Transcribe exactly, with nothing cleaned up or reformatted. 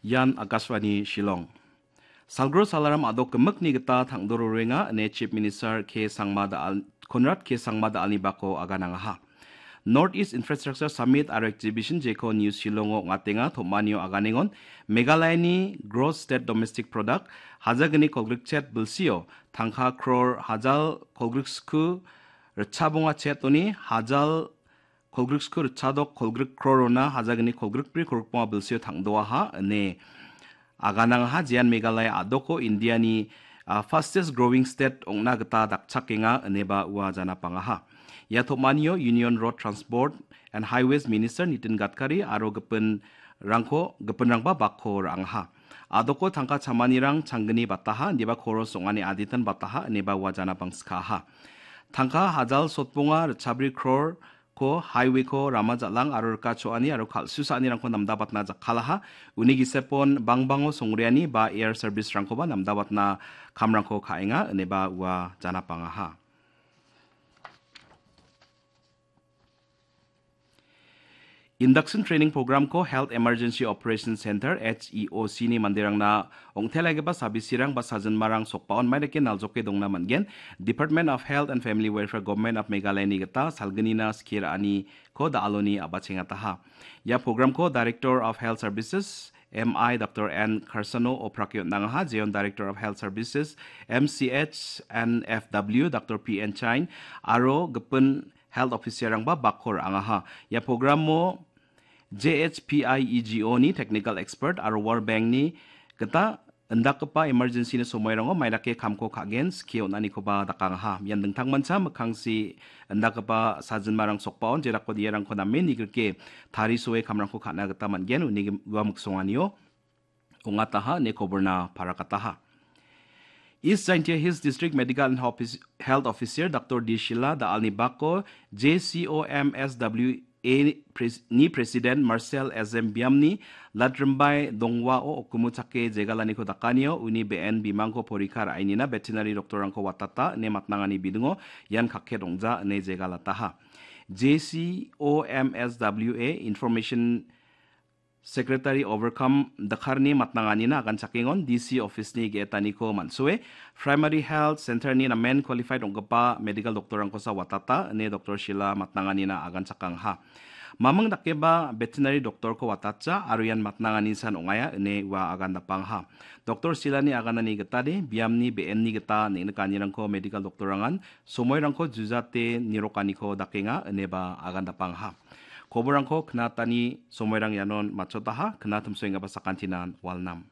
Ian Akashvani Shillong. Salgro salaram a·dok gimikni gita tangdororenga ine Chief Minister K Sangma Daal-, Conrad K Sangma Daalni bako aganangaha. North East Infrastructure Summit aro Exhibition jeko New Shillongo ong·atenga, tom·anio aganengon Meghalayani Gross State Domestic Product hajagni kolgrikchet bilsio tangka crore hajal kolgriksku ritchabonga chetoni hajal kolgriksku ritchadok kolgrik crore-ona hajagni kolgrikbri kolgrikbonga bilsio tangdoaha ine aganangaha, jean Meghalaya a·doko Indiani, ah, fastest growing state ong·na gita dakchakenga ineba ua janapangaha. Ia tom·anio Union Road Transport and Highways Minister Nitin Gadkari aro gipinrangko, gipinrangba bakko ra·angaha. A·doko tangka chamanirang changgni bataha, indiba koros ong·ani aditan bataha ineba ua janapangskaha. Tangka hajal sotbonga ritchabri crore ko highway-ko rama jal·ang aro rika cho·ani aro kal·susaanirangko namdabatna jakkalaha. Uni gisepon bangbango songreani ba air service-rangkoba namdabatna kamrangko ka·enga ineba ua janapangaha. Induction Training Program-ko Health Emergency Operation Center, H E O C-ni manderangna ong·telagipa sabisirang ba sajinmarang sokbaon maidake naljoke dongna man·gen. Department of Health and Family Welfare, Government of Meghalaya-ni gita salgnina skie ra·aniko da·aloni a·bachengataha. Ia program-ko Director of Health Services, M I Doctor N Karsano oprake on·angaha, jeon Director of Health Services, M C H and F W, Doctor P N Chain, aro gipin health officer-rangba bakko ra·angaha. Ia program-o J H P I E G O-ni technical expert aro World Bank-ni gita indakgipa emergency-ni somoirango maidake kamko ka·gen skie on·anikoba dakangaha. Ian dingtangmancha mikkangsi indakgipa sajinmarang sokbaon jerakode iarangko name nigrike tarisoe kamrangko ka·na gita man·gen, uni ua miksonganio ong·ataha ine koborna parakataha. East Jaintia Hills District Medical and Office-, Health Officer Doctor D Shila da·alni bako J C O M S W A pres-, ni President Marcel S M Biamni Latrimbai Dongwao okumu chake jegalaniko dakanio uni be·en bimangko porikha ra·enina veterinary doctor-rangko watata ine matnangani bidingo ian kakket ong·ja ine jegalataha. J C O M S W A Information Secretary Overcome Dakarni matnanganina aganchakengon D C office-ni ge·etaniko man·soe, Primary Health Center-ni namen qualified ong·gipa medical doctor-rangkosa watata ine Doctor Shila matnanganina aganchakangaha. Maming dakeba veterinary doctor-ko watatja aro ian matnanganisan ong·aia ine ua agan dapangaha. Doctor Shilani aganani gitade biamni be·enni gita neng·nikanirangko medical doctor-rangan somoirangko jujate nirokaniko dakenga ineba agan dapangaha. Koborrangko knatani somoirang ianon matchotaha, knatimsoenggipa sakantinan walnam.